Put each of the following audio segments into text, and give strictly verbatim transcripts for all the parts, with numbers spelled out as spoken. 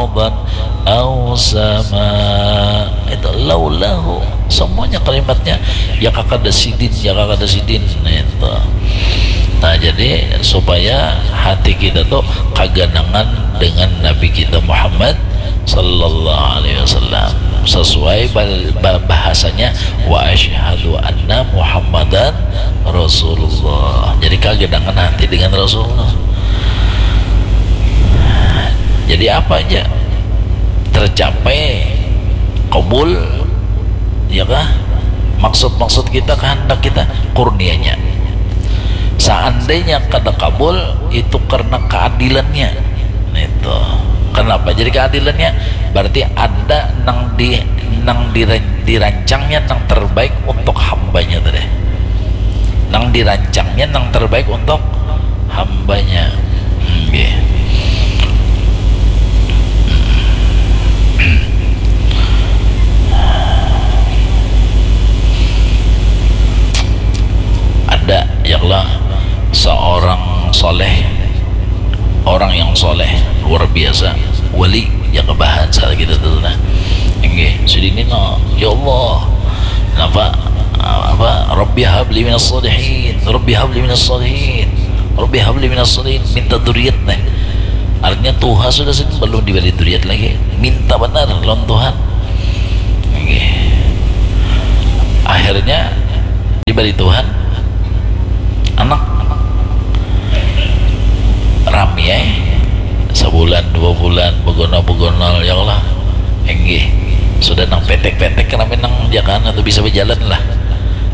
ardan au sama. Itu laulahu, semuanya kalimatnya ya kakada sidin, ya kakada sidin itu. Nah, jadi supaya hati kita tuh kaganangan dengan Nabi kita Muhammad sallallahu alaihi wasallam, sesuai bahasanya, wa asyhadu anna Muhammadan Rasulullah. Jadi kaganangan hati dengan Rasulullah. Jadi apa aja tercapai, kabul, ya kah? Maksud-maksud kita, kehendak kita, kurnianya. Seandainya kada kabul, itu karena keadilannya. Itu. Kenapa jadi keadilannya? Berarti ada nang di nang dirancangnya nang terbaik untuk hambanya tadi. Nang dirancangnya nang terbaik untuk hambanya. Nggih. Ada, ya Allah, seorang soleh, orang yang soleh luar biasa, wali, ya, kebahan salah kita tuh nah. Nggih, sidin ini, ya Allah, napa, apa, Rabbi habli minas salihin, Rabbi habli minas salihin, Rabbi habli minas salihin, minta duriat nih. Artinya tuha sudah sini belum diberi duriat lagi, minta benar lawan Tuhan. Nggih. Akhirnya diberi Tuhan anak. Rami ai, sebulan dua bulan begonol-begonol, ya Allah. Enggih, sudah nang petek-petek rami nang jakan atau bisa berjalan lah.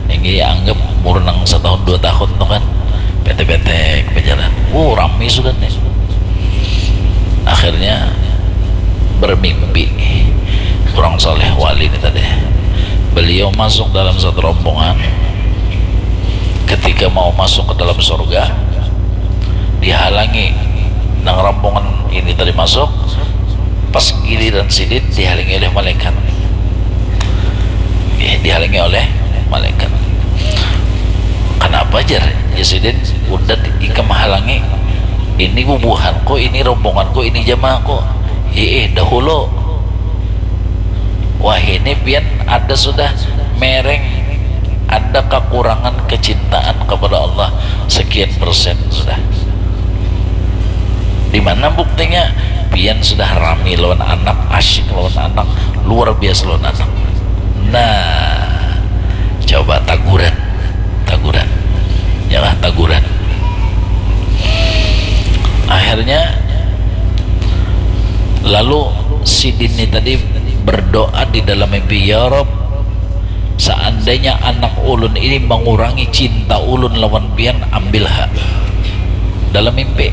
Enggih, anggap umur nang setahun dua tahun tuh kan, petek-petek berjalan. Wow, rami sudah nih. Akhirnya bermimpi orang soleh wali ini tadi. Beliau masuk dalam satu rombongan. Ketika mau masuk ke dalam surga, dihalangi nang rombongan ini tadi masuk. Pas giliran sidin dihalangi oleh malaikat. Eh, dihalangi oleh malaikat. Kenapa, jar? Ya sidin, udah ikam halangi. Ini bubuhanku, ini rombonganku, ini jamaahku. Iih, dahulu. Wah, ini pian ada sudah mereng, ada kekurangan kecintaan kepada Allah sekian persen sudah. Di mana buktinya? Pian sudah rami lawan anak, asyik lawan anak, luar biasa lawan anak. Nah, coba taguran, taguran, yalah, taguran. Akhirnya lalu sidin ni tadi berdoa di dalam mimpi, "Ya Rob, seandainya anak ulun ini mengurangi cinta ulun lawan pian, ambil ha." Dalam mimpi,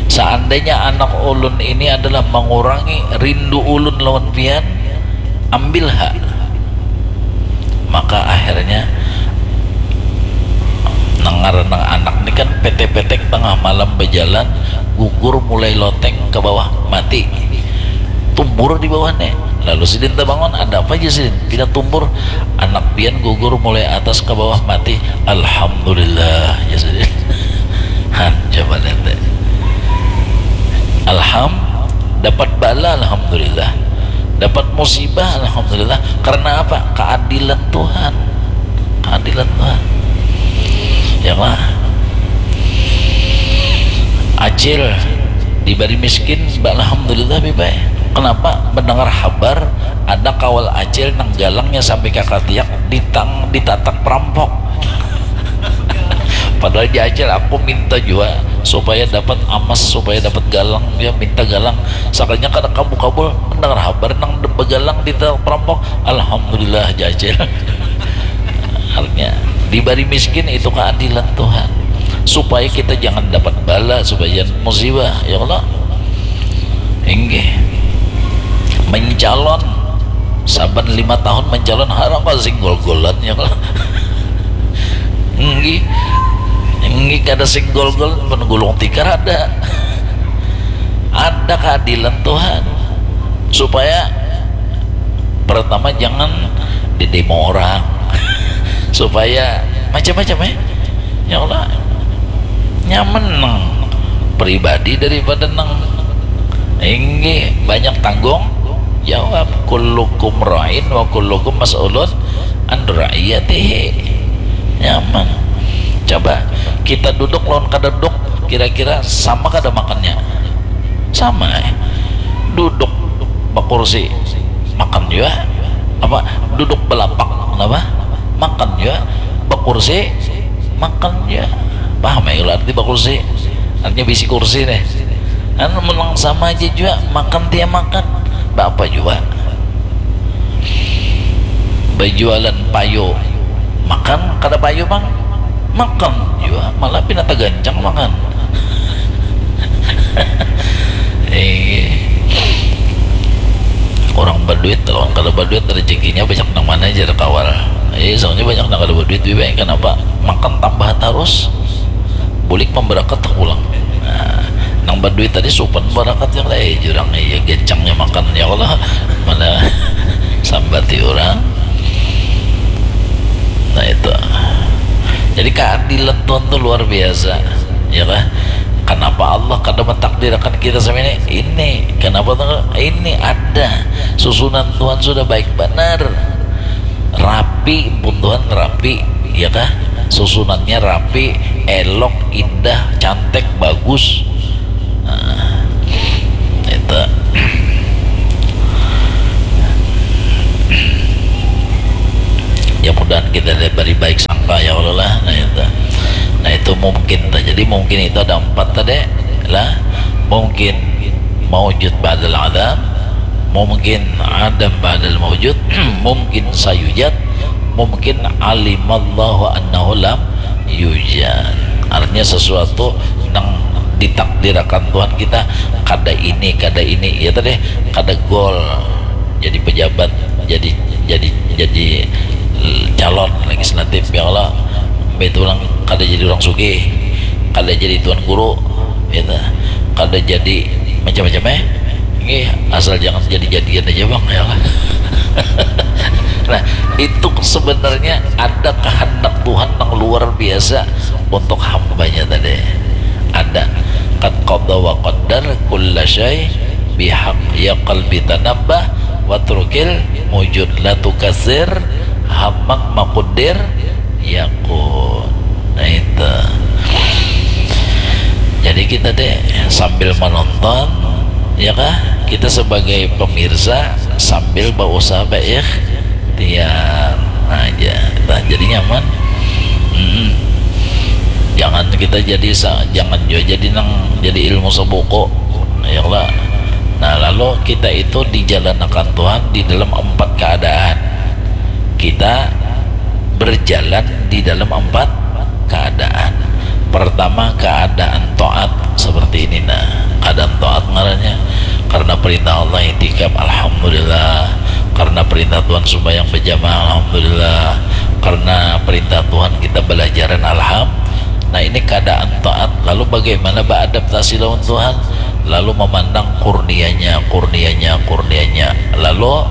"Seandainya anak ulun ini adalah mengurangi rindu ulun lawan pian, ambil ha." Maka akhirnya nang ngaran nang anak ni kan petek-petek tengah malam bejalan, gugur mulai loteng ke bawah, mati. Tumbur di bawah nih. Lalu sidin tabangun, "Ada apa aja sidin? Pina tumbur?" "Anak pian gugur mulai atas ke bawah, mati." "Alhamdulillah," ya sidin. Han, coba lihat deh. Alham, dapat bala, alhamdulillah. Dapat musibah, alhamdulillah. Karena apa? Keadilan Tuhan. Keadilan Tuhan. Ya, Pak. Acil diberi miskin, alhamdulillah, Bibai. Kenapa? Mendengar habar ada kawal acil nang galangnya sampai ka katiak ditang, ditatak perampok. Padahal dia acil, aku minta juga supaya dapat amas, supaya dapat galang, dia minta galang. Sakalinya kada kabul-kabul, mendengar habar nang begalang ditatak perampok, alhamdulillah, jajil. Artinya, diberi miskin itu keadilan Tuhan, supaya kita jangan dapat bala, supaya jangan musibah, ya Allah. Inggih. Mencalon, saban lima tahun mencalon, harang kau singgol-golan, ya Allah. Inggih. Inggih, kada singgol-gol, menggulung tikar ada. Ada keadilan Tuhan. Supaya pertama jangan didemo orang. Supaya macam-macam, ya. Ya Allah, nyaman nang pribadi daripada nang Inggih, banyak tanggung jawab. Kullukum ra'in wa kullukum mas'ulun an ra'iyatihi. Nyaman. Coba kita duduk lawan kada duduk, kira-kira sama kada makannya? Sama, eh. Duduk bakursi, makan jua. Apa, duduk balapak, kenapa? Makan jua. Bakursi, makan jua. Paham ya kalau arti bakursi? Artinya bisi kursi nih. Kan menang sama aja jua, makan tiap makan. Bapa jua. Bajualan payu, makan kada payu, Bang? Makan jua, malah pina tagancang makan. Eh, orang baduit, orang kada baduit, rezekinya banyak nang mana, jar kawal. Eh, soalnya banyak nang kada baduit, Bibi. Kenapa? Makan tambah terus, bulik memberakat pulang. Nah, nang baduit tadi supan berakat yang lain, jurang iya, gencangnya makan, ya Allah, mana sambati orang. Nah, itu. Jadi keadilan Tuhan tuh luar biasa, ya kah? Kenapa Allah kada mentakdirkan kita sama ini? Ini, kenapa tuh? Ini ada susunan Tuhan sudah baik benar, rapi pun Tuhan, rapi, ya kah? Susunannya rapi, elok, indah, cantik, bagus. Nah, itu. Ya, mudahan kita diberi baik sangka, ya Allah lah. Nah, itu. Nah, itu mungkin. Jadi mungkin itu ada empat tadi lah. Mungkin maujud ba'dal adam, mungkin adam ba'dal maujud, mungkin sayujad, mungkin alimallahu annahu lam yujad. Artinya sesuatu yang ditakdirakan Tuhan kita, kada ini, kada ini, ya tadi, kada gol jadi pejabat, jadi jadi jadi calon legislatif, ya Allah, betulang kada jadi orang sugih, kada jadi tuan guru, ya, kada jadi macam-macam, eh. Ini asal jangan jadi-jadian aja, Bang, ya Allah. Nah, itu sebenarnya ada kehendak Tuhan yang luar biasa untuk hambanya tadi. Ada. Qad qada wa qaddar kulla syai bihaq, ya qalbi tanabbah, watrukil mujud, la tukasir hammak makudir yakun. Nah, itu. Jadi kita deh sambil menonton, ya kah? Kita sebagai pemirsa sambil berusaha berikhtiar aja. Nah, jadi nyaman. Mm-mm. Jangan kita jadi sa-, jangan juga jadi nang jadi ilmu sebuku, ya lah. Nah, lalu kita itu dijalanakan Tuhan di dalam empat keadaan. Kita berjalan di dalam empat keadaan. Pertama, keadaan taat seperti ini, nah, keadaan taat ngarannya. Karena perintah Allah itikaf, alhamdulillah. Karena perintah Tuhan sembahyang berjamaah, alhamdulillah. Karena perintah Tuhan kita belajaran, alham. Nah, ini keadaan taat. Lalu bagaimana beradaptasi lawan Tuhan? Lalu memandang kurnianya, kurnianya, kurnianya. Lalu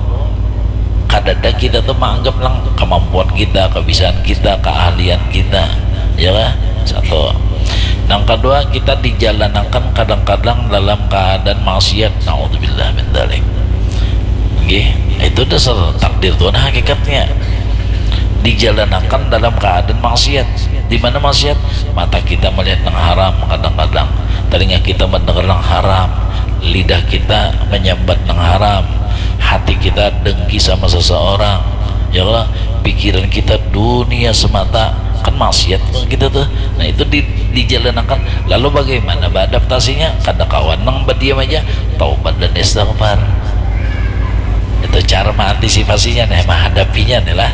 kadada kita tuh menganggap lang kemampuan kita, kebisaan kita, keahlian kita, ya lah. Satu. Yang kedua, kita dijalanakan kadang-kadang dalam keadaan maksiat. Naudzubillah min dzalik. Nggih, itu dasar takdir Tuhan hakikatnya. Dijalanakan dalam keadaan maksiat. Di mana maksiat? Mata kita melihat yang haram kadang-kadang, telinga kita mendengar yang haram, lidah kita menyambat yang haram, hati kita dengki sama seseorang, ya Allah, pikiran kita dunia semata, kan maksiat kita tuh. Nah, itu di, dijalanakan. Lalu bagaimana beradaptasinya? Kada kawan nang berdiam aja, taubat dan istighfar. Itu cara mengantisipasinya nih, menghadapinya nih lah.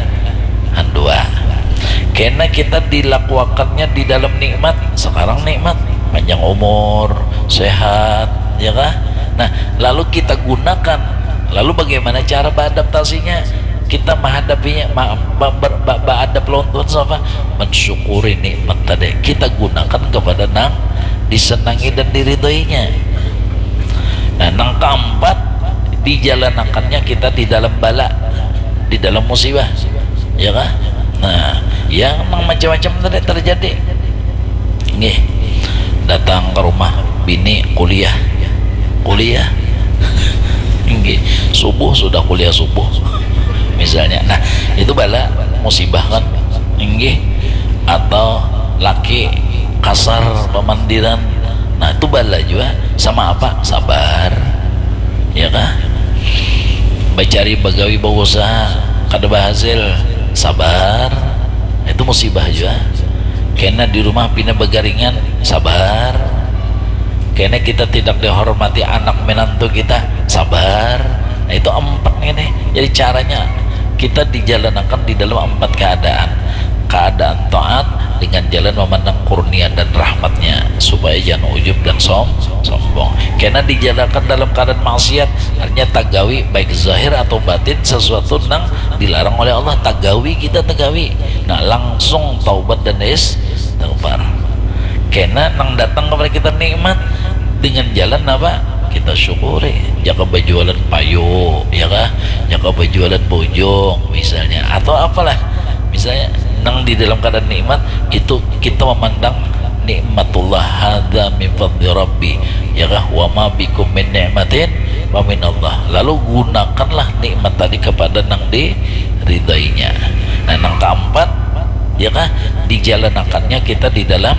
Handua. Karena kita dilakuakannya di dalam nikmat, sekarang nikmat, panjang umur, sehat, ya kah? Nah, lalu kita gunakan. Lalu bagaimana cara beradaptasinya? Kita menghadapinya, ma-, ba-, ber-, ba-, beradap lawan Tuhan sama mensyukuri nikmat tadi. Kita gunakan kepada nang disenangi dan diridhoinya. Nah, nang keempat, dijalanakannya kita di dalam bala, di dalam musibah, ya kah? Nah, yang nang macam-macam tadi terjadi. Nggih, datang ke rumah bini kuliah, kuliah, Subuh sudah kuliah subuh misalnya. Nah, itu bala musibah kan, inggih. Atau laki kasar pamandiran, nah itu bala jua. Sama apa? Sabar, ya kah? Bacari bagawi, bausaha, kada bahasil, sabar, itu musibah jua. Kena di rumah pina bagaringan, sabar. Kena kita tidak dihormati anak menantu kita, sabar. Nah, itu empat ini. Jadi caranya kita dijalanakan di dalam empat keadaan. Keadaan taat dengan jalan memandang kurnia dan rahmatnya, supaya jangan ujub dan som sombong. Kena dijalanakan dalam keadaan maksiat, artinya tagawi baik zahir atau batin sesuatu nang dilarang oleh Allah, tagawi kita, tagawi. Nah, langsung taubat dan istighfar. Kena nang datang kepada kita nikmat dengan jalan apa? Kita syukuri. Jaka bajualan payu, ya kah? Jaka bajualan bujung misalnya, atau apalah. Misalnya nang di dalam keadaan nikmat itu kita memandang nikmatullah, hadza min fadli rabbi, ya kah? Wa ma bikum min ni'matin fa minallah. Lalu gunakanlah nikmat tadi kepada nang diridainya. Nah, nang keempat, ya kah, dijalanakannya kita di dalam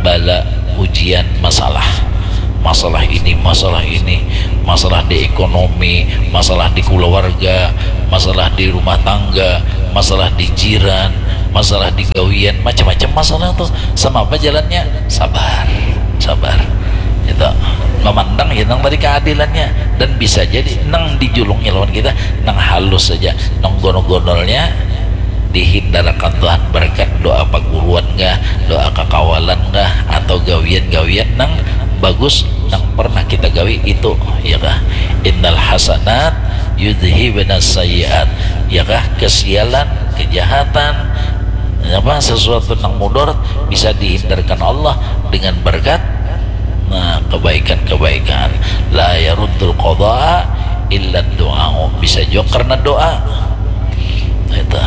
bala ujian masalah. Masalah ini, masalah ini, masalah di ekonomi, masalah di keluarga, masalah di rumah tangga, masalah di jiran, masalah di gawian, macam-macam masalah tuh. Sama apa jalannya? Sabar, sabar. Itu memandang ya nang tadi keadilannya, dan bisa jadi nang dijulungi lawan kita nang halus saja, nang gonol-gonolnya dihindarakan Tuhan berkat doa paguruan kah, doa kakawalan kah, atau gawian-gawian nang bagus nang pernah kita gawi itu, ya kah? Innal hasanat yudhibna sayyiat, ya kah? Kesialan, kejahatan, apa, sesuatu nang mudarat bisa dihindarkan Allah dengan berkat, nah, kebaikan-kebaikan. La yaruddul qada'a illa du'a, bisa juga karena doa. Itu.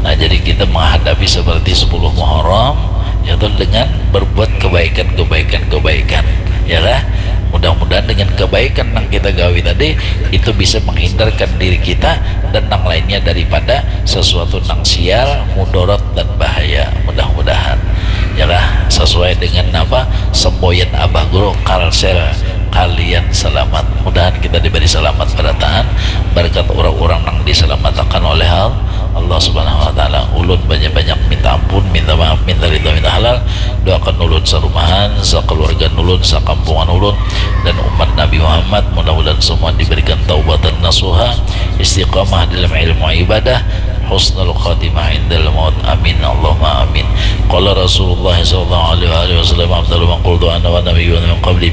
Nah, jadi kita menghadapi seperti sepuluh Muharram, yaitu dengan berbuat kebaikan, kebaikan, kebaikan, ya kah? Mudah-mudahan dengan kebaikan yang kita gawi tadi itu bisa menghindarkan diri kita dan yang lainnya daripada sesuatu nang sial, mudarat, dan bahaya. Mudah-mudahan, ya kah? Sesuai dengan apa, semboyan Abah Guru, Kalsel, kalian selamat. Mudahan kita diberi selamat barataan berkat orang-orang yang diselamatkan oleh Allah Subhanahu wa Ta'ala. Ulun banyak-banyak minta ampun, minta maaf, minta ridha, minta halal. Doakan ulun sarumahan, sakeluarga ulun, sakampungan ulun, dan umat Nabi Muhammad. Mudah-mudahan semua diberikan taubatan nasuha, istiqamah dalam ilmu ibadah, husnul khatimah indal maut. Amin, Allahumma amin. Qala Rasulullah sallallahu alaihi wasallam, afdalu ma qultu ana wa nabiyyuna min qabli,